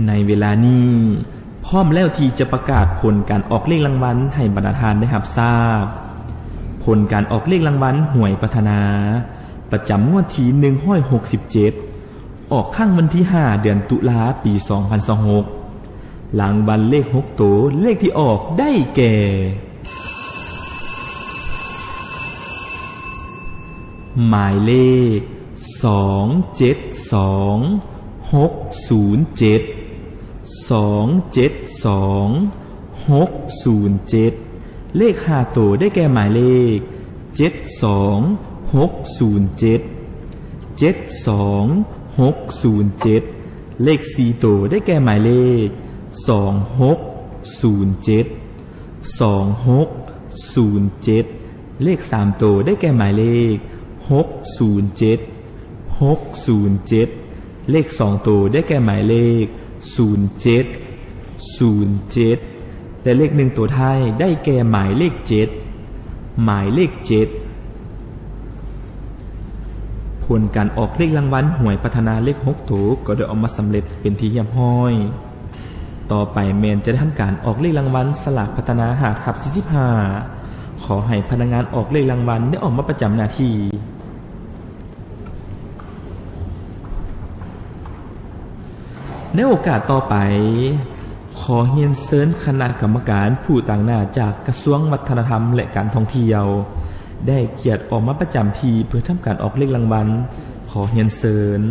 ໃນເວລານີ້ ພ້ອມແລ້ວທີ່ຈະປະກາດຜົນການອອກເລກລາງວັນໃຫ້ບັນດາທ່ານໄດ້ຮັບຊາບ. ຜົນການອອກເລກລາງວັນຫວຍພັດທະນາ ປະຈຳງວດທີໜຶ່ງຮ້ອຍຫົກສິບເຈັດ ອອກຄັ້ງວັນທີຫ້າ ເດືອນຕຸລາ ປີສອງພັນຊາວຫົກ. ລາງວັນເລກຫົກໂຕ ເລກທີ່ອອກໄດ້ແກ່ ໝາຍເລກ ສອງເຈັດສອງ ຫົກສູນເຈັດ ສອງເຈັດສອງ ຫົກສູນເຈັດ. ເລກຫ້າໂຕໄດ້ແກ່ໝາຍເລກ ເຈັດສອງ ຫົກສູນເຈັດ ເຈັດສອງ ຫົກສູນເຈັດ. ເລກສີ່ໂຕໄດ້ແກ່ໝາຍເລກ ສອງຫົກສູນເຈັດ ສອງຫົກສູນເຈັດ. ເລກສາມໂຕໄດ້ແກ່ໝາຍເລກ ຫົກສູນເຈັດ ຫົກສູນເຈັດ. ເລກສອງໂຕໄດ້ແກ່ໝາຍເລກ ສູນເຈັດ ສູນເຈັດ ແລະ ເລກໜຶ່ງໂຕທ້າຍໄດ້ແກ່ໝາຍເລກເຈັດ ໝາຍເລກເຈັດ. ຜົນການອອກເລກລາງວັນຫວຍພັດທະນາເລກຫົກໂຕກໍໄດ້ອອກມາສຳເລັດເປັນທີ່ຮຽບຮ້ອຍ. ຕໍ່ໄປແມ່ນຈະໄດ້ທຳການອອກເລກລາງວັນສະຫຼາກພັດທະນາຫ້າທັບສີ່ສິບຫ້າ. ຂໍໃຫ້ພະນັກງານອອກເລກລາງວັນໄດ້ອອກມາປະຈຳໜ້າທີ່. ໃນໂອກາດຕໍ່ໄປ, ຂໍຮຽນເຊີນຄະນະກຳມະການຜູ້ຕາງໜ້າຈາກກະຊວງວັດທະນະທຳ ແລະ ການທ່ອງທ່ຽວ ໄດ້ກຽດອອກມາປະຈຳທີ່ເພື່ອທຳການອອກເລກລາງວັນ. ຂໍຮຽນເຊີນ.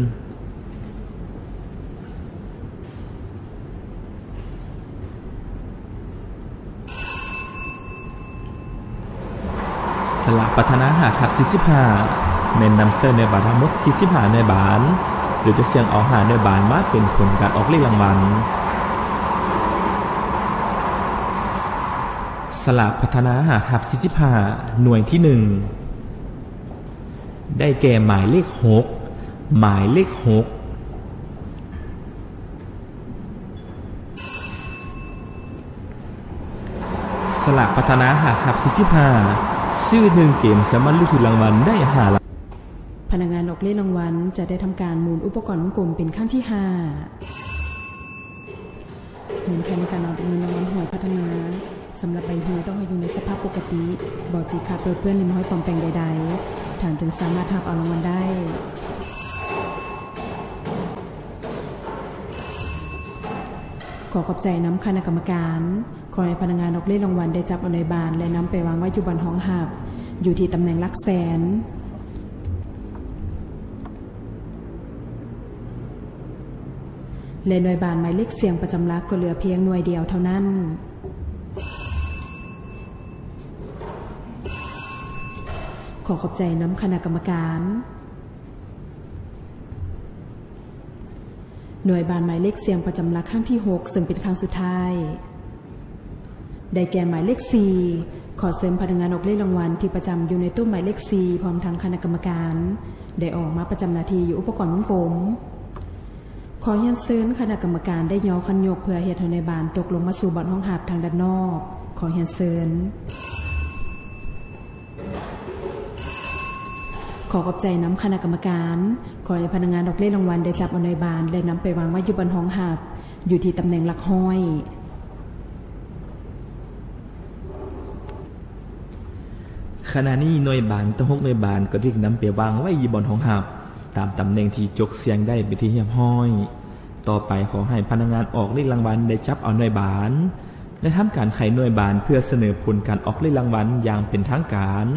ສະຫຼາກພັດທະນາຫ້າທັບສີ່ສິບຫ້າ ແມ່ນນຳໃຊ້ໜ່ວຍບານທັງໝົດສີ່ສິບຫ້າໜ່ວຍບານ ໂດຍຈະສ່ຽງເອົາຫ້າໜ່ວຍບານມາເປັນຜົນການອອກເລກລາງວັນ. ສະຫຼາກພັດທະນາຫ້າທັບສີ່ສິບຫ້າ ໜ່ວຍທີໜຶ່ງ ໄດ້ແກ່ໝາຍເລກຫົກ ໝາຍເລກຫົກ. ສະຫຼາກພັດທະນາຫ້າທັບສີ່ສິບຫ້າ ຊື້ໜຶ່ງເກມສາມາດລຸ້ນຖືກລາງວັນໄດ້ຫ້າລ້ານ. ພະນັກງານອອກເລກລາງວັນຈະໄດ້ທຳການໝູນອຸປະກອນວົງກົມເປັນຄັ້ງທີຫ້າ. ເງື່ອນໄຂໃນການອອກເລກລາງວັນຫວຍພັດທະນາ. ສຳລັບໃບຫວຍຕ້ອງໃຫ້ຢູ່ໃນສະພາບປົກກະຕິ, ບໍ່ຈີກຂາດເປິດເປື້ອນ ຫຼື ມີຮອຍປອມແປງໃດໆ, ທ່ານຈຶ່ງສາມາດຮັບເອົາລາງວັນໄດ້. ຂໍຂອບໃຈນຳຄະນະກຳມະການ. ຂໍໃຫ້ພະນັກງານອອກເລກລາງວັນໄດ້ຈັບເອົາໜ່ວຍບານ ແລະ ນຳໄປວາງໄວ້ຢູ່ບ່ອນຮອງຮັບ ຢູ່ທີ່ຕຳແໜ່ງຫຼັກແສນ. ແລະ ໜ່ວຍບານໝາຍເລກສ່ຽງປະຈຳຫຼັກກໍເຫຼືອພຽງໜ່ວຍດຽວເທົ່ານັ້ນ. ຂໍຂອບໃຈນຳຄະນະກຳມະການ. ໜ່ວຍບານໝາຍເລກສ່ຽງປະຈຳຫຼັກຄັ້ງທີຫົກ ເຊິ່ງເປັນຄັ້ງສຸດທ້າຍ ໄດ້ແກ່ໝາຍເລກສີ່. ຂໍເຊີນພະນັກງານອອກເລກລາງວັນທີ່ປະຈຳຢູ່ໃນໂຕະໝາຍເລກສີ່ ພ້ອມທັງຄະນະກຳມະການ ໄດ້ອອກມາປະຈຳໜ້າທີ່ຢູ່ອຸປະກອນວົງກົມ. ຂໍຮຽນເຊີນຄະນະກຳມະການໄດ້ຍໍຄັນຍົກເພື່ອເຮັດໃຫ້ໜ່ວຍບານຕົກລົງມາສູ່ບ່ອນຮອງຮັບທາງດ້ານນອກ. ຂໍຮຽນເຊີນ. ຂໍຂອບໃຈນຳຄະນະກຳມະການ. ຂໍໃຫ້ພະນັກງານອອກເລກລາງວັນໄດ້ຈັບເອົາໜ່ວຍບານ ແລະ ນຳໄປວາງໄວ້ຢູ່ບ່ອນຮອງຮັບ ຢູ່ທີ່ຕຳແໜ່ງຫຼັກຮ້ອຍ. ຂະນະນີ້ໜ່ວຍບານທັງຫົກໜ່ວຍບານກໍຖືກນຳໄປວາງໄວ້ຢູ່ບ່ອນຮອງຮັບ ຕາມຕຳແໜ່ງທີ່ຈົກສ່ຽງໄດ້ເປັນທີ່ຮຽບຮ້ອຍ. ຕໍ່ໄປຂໍໃຫ້ພະນັກງານອອກເລກລາງວັນໄດ້ຈັບເອົາໜ່ວຍບານ ແລະ ທຳການໄຂໜ່ວຍບານເພື່ອສະເໜີຜົນການອອກເລກລາງວັນຢ່າງເປັນທາງການ.